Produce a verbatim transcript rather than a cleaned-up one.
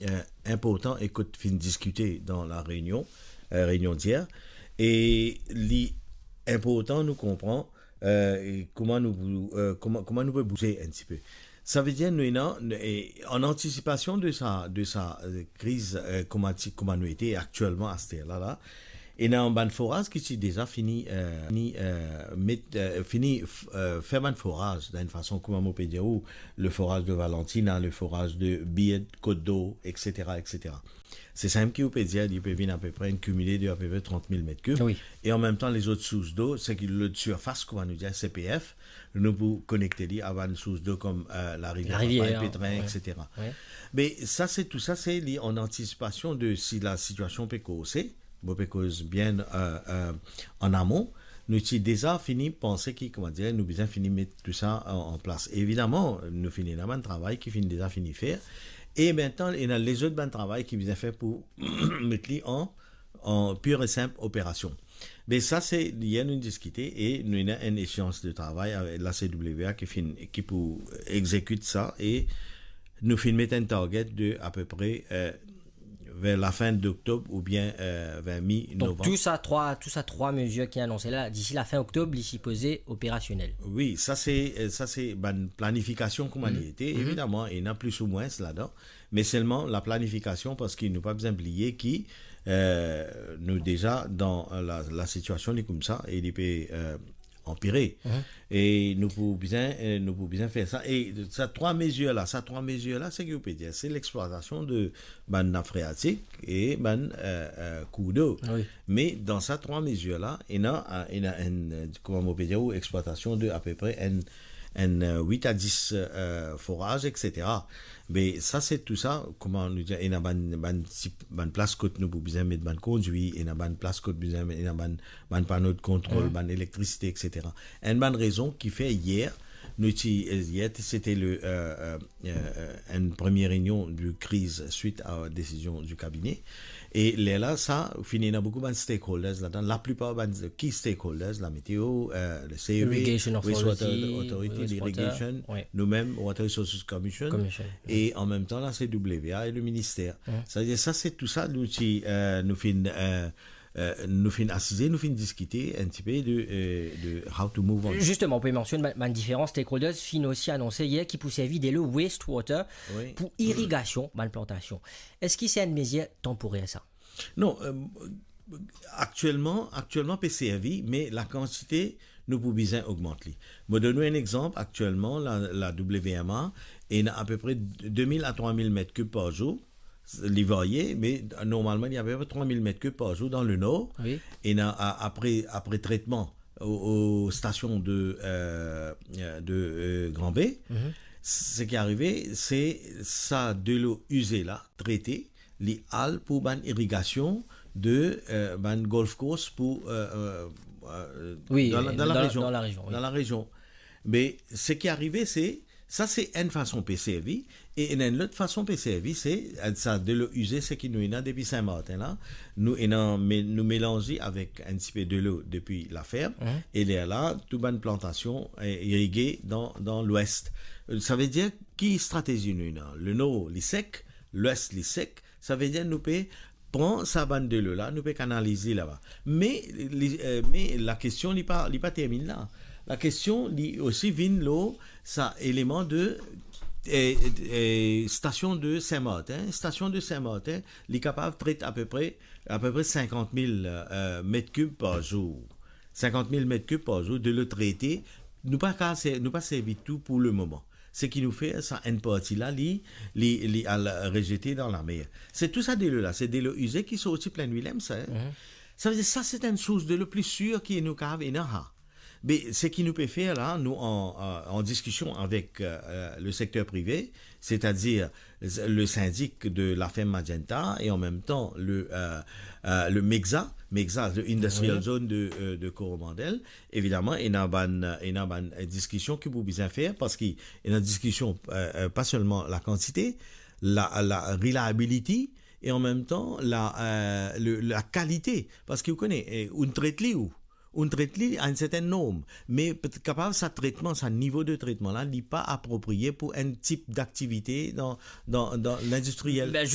eh, inportan e kot finn diskite dan la reynion, eh, reynion dir. E li inportan nou konpran, eh, kouma nou, eh, kouma, kouma nou pe bouze enn tipe. Savedir nou ena, e, an antisipasion de sa, de sa, eh, kriz, eh, kouma ti, kouma nou ete aktielman aster la, la, ena bann foraz ki ti deza fini, eh, fini, eh, met, eh, fini, f-, eh, fer bann foraz, dan enn fason, kouma mo pe dir ou, le foraz de Valentina, le foraz de Beard, Côte d'Or, et cetera, et cetera. Se sa mem ki ou pe dir, li pe vinn apepre enn kimile de apepre trant mil met kib. Wi. E an mem tan, lezot sours d'eau, seki lot sirfas, kouma nou dir, C P F, nou pou konekte li a bann sours d'eau kom, eh, Larivier, Larivier, Papay, Petrin, wi, et cetera. Wi. Me sa, se tou sa, se li an antisipasion de si la sitiasion pe korse, mo pe koz bien, eh, eh, an amon, nou ti deza fini panse ki, kouma dir, nou bizin fini met tou sa an, an plas. Evidaman, nou finn ena bann travay ki finn deza fini fer. E mintnan, ena lezot bann travay ki bizin fer pou met li an, an pir e sinp operasion. Me sa, se yer nou diskite e nou ena enn eseans de travay avek la C W A ki finn, ki pou exekit sa e nou finn met enn target de apepre, eh, ver lafin doktob oubien, eh, ver mi novanm. Donk, tou sa trwa, tou sa trwa mezir ki anonse la, disi lafin oktob, li sipoze operasionel. Wi, sa se, eh, sa se bann planifikasion kouma li ete. Mhm. Evidaman, ena plis ou mwins ladan, me selman la planifikasion, parski nou pa bizin bliye ki, eh, nou deza dan la, la sitiasion li koumsa e li pe, eh, anpire. Mhm. E nou pou bizin, eh, nou pou bizin fer sa. E sa trwa mezir la, sa trwa mezir la, seki ou pe dir, se lexplwatasion de bann nap freatik e bann, eh, eh, kour d'eau. Wi. Me dan sa trwa mezir la, ena, eh, ena enn, eh, kouma mo pe dir ou, explwatasion de apepre enn, enn, eh, wit a dis, eh, foraz, et cetera. Me sa, se tou sa, kouma nou dir, ena bann, bann ti, bann plas kot nou pou bizin met bann kondwir, ena bann plas kot bizin met, ena bann, bann pano de kontrol, mhm, bann elektrisite, et cetera. Enn bann rezon ki fer yer, nou ti, yer, sete le, eh, eh, eh, enn premie reynion de kriz swit a desizion du kabine. E lerla, sa, finn ena boukou bann stakeholders ladan. Laplipar bann key stakeholders, la meteo, eh, le C E B, Irrigation Wastewater Authority, Authority, wastewater, l'irrigation, wi, nou mem, Water Resources Commission, Commission, e an mem tan, la C W A e le minister. Mhm. Savedir, sa, se tou sa, nou ti, eh, nou finn, eh, eh, nou finn asize, nou finn diskite enn tipe de, eh, de how to move on. Zisteman, ou pe mansionn bann, bann diferan stakeholders, finn osi anonse yer ki pou servi delo wastewater, wi, pou irigasion bann plantasion. Eski se enn mezir tanporer, sa? Non, eh, aktielman, aktielman pe servi, me lakantite nou pou bizin ogmant li. Mo donn ou enn exanp, aktielman, la, la W M A ena apepre de mil a trwa mil met kib par zour, li varye, me normalman, li apepre trwa mil met kib par zour dan le nor. Wi. Ena a-, apre, apre tretman o, o stasion de, eh, de, eh, Grand Baie, mhm, seki arive, se sa delo ize la, trete, li al pou bann irigasion de, eh, bann golf course pou, eh, eh, eh, wi, dan la, dan la rezion. Dan la rezion, wi. Dan la rezion. Me seki arive, se, sa se enn fason pe servi, e enn, enn lot fason pe servi, se, eh, sa delo ize, seki nou ena depi Sin-Martin la, nou ena, me-, nou melanz li avek enn tipe delo depi laferm, mhm, e lerla, tou bann plantasion, eh, irige dan, dan lwes. Eh, savedir, ki stratezi nou ena? Le nor, li sek, lwes, li sek, savedir nou pe pran sa bann delo la, nou pe kanaliz li laba. Me li, eh, me lakestion, li pa, li pa terminn la. Lakestion, li osi vinn lor sa eleman de, eh, eh, stasion de Sin-Martin. Stasion de Sin-Martin, li kapav tret apepre, apepre sinkant mil, eh, met kib par zour. Sinkant mil met kib par zour delo trete. Nou pa ka ser-, nou pa servi tou pou le moman. Seki nou fer, sa enn parti la, li, li, li al rezete dan lamer. Se tou sa delo la, se delo ize ki sorti Plaine Willem, sa, hein. Mhm. Savedir, sa se enn sours delo pli sir ki nou kapav ena la. Me seki nou pe fer la, nou an, an, an diskision avek, eh, le sekter prive, setadir le sindik de laferm Magenta e an mem tan le, eh, eh, le MEGZA, MEGZA, le Industrial, wi, Zone de, eh, de Coromandel. Evidaman, ena bann, ena bann, eh, diskision ki pou bizin fer, parski ena diskision, eh, eh, pa selman lakantite, la, la reliability, e an mem tan, la, eh, le, lakalite. Parski ou kone, eh, ou tret li, ou, ou tret li a enn sertenn norm, me pe-, kapav sa tretman, sa nivo de tretman la, li pa apropriye pou enn tip daktivite dan, dan, dan lindistriel. Ben,